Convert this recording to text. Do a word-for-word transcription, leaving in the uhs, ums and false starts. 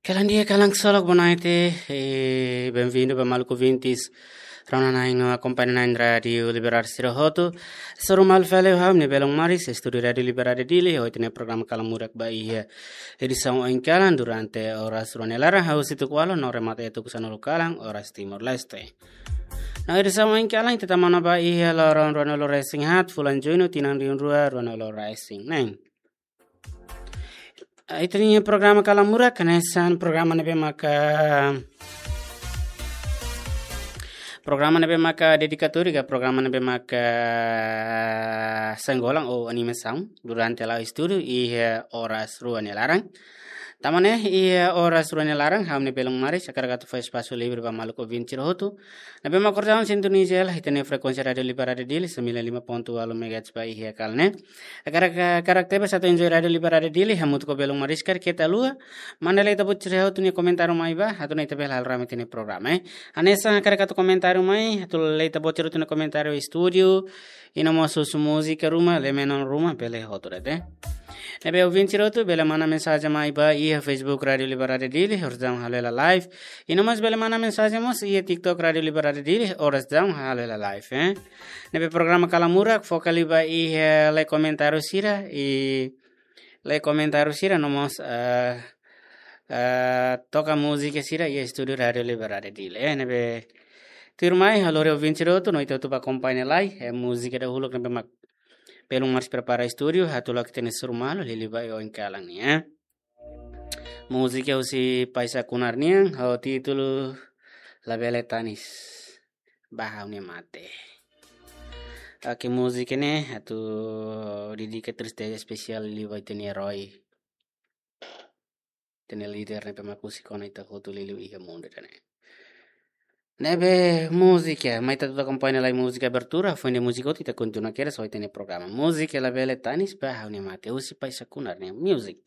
Kalan di'ak, kalan ksolok, boa noite. E benvindu ba maluk ouvintes rona-na'in no akompaña na'in Rádiu Liberdade sira hotu. Hasoru malu fali ho ha'u-nia belun maris, estúdiu Rádiu Liberdade Dili, ho ita-nia programa Kalan Murak ba iha edisaun oin kalan durante oras rua nia laran, hahú husi tuku ualu no remata iha tuku sanulu kalan, oras Timor-Leste. No edisaun oin kalan ita tama ona ba iha loron ruanulu-resin-haat, fulan Juñu, tinan rihun rua ruanulu-resin-neen. Ita-nia programa Kalan Murak hanesan programa ne'ebé maka, programa ne'ebé maka dedikatóriu ka programa ne'ebé maka senggolan ou animasaun durante la'o estúdiu iha oras rua nia laran. Tanba ne'e iha oras rua nia laran, ha'u-nia belun maris hakarak atu fó espasu livre ba maluk ouvinte sira hotu ne'ebé mak kordau sintoniza hela ita-nia frekuénsia Rádiu Liberdade Dili, sembilan lima ponto ualu megahertz ba iha kalan ne'e. Hakarak, hakarak tebes atu enjoy Rádiu Liberdade Dili, hamutuk ho belun maris karik keta haluha manda lee ita-boot sira hotu nia komentáriu mai ba, atu nune'e ita bele halo rame ita-nia programa, eh. Hanesan hakarak atu komentáriu mai, atu lee ita-boot sira hotu nia komentáriu estúdiu, i no mós husu múzika ruma, lee menon ruma, bele hotu de'it, eh. Ne'ebé ouvinte sira hotu bele manda mensajen mai ba iha Facebook Rádiu Liberdade Dili, oras daudaun halo hela live. I no mós bele manda mensajen mós iha TikTok Rádiu Liberdade Dili, oras daudaun halo hela live, eh. Ne'ebé programa Kalan Murak foka liu ba iha lee komentáriu sira, i lee komentáriu sira no mós, eh, eh, toka múzika sira iha estúdiu Rádiu Liberdade Dili, eh. Ne'ebé tuirmai ha'u lori ouvinte sira hotu no ita hotu ba akompaña lai, eh, múzika dahuluk ne'ebé mak belun maris prepara estúdiu, atu la'o ita-nia hasoru malu liuliu ba iha oin kalan ne'e, eh. Múzika husi Paisa Kunar nian, ho títulu Labele Tanis, ba ha'u-nia mate. Oke, múzika ne'e atu dedika tristeza espesiál liu ba ita-nia erói, ita-nia líder ne'ebé mak husik ona ita hotu liuliu iha mundu ida-ne'e. Ne'ebé múzika, mai ita hotu akompaña lai múzika abertura, foin de'it múzika hotu ita kontinua kedas ho ita-nia programa. Múzika Labele Tanis, ba ha'u-nia mate, husi Paisa Kunar nian, music.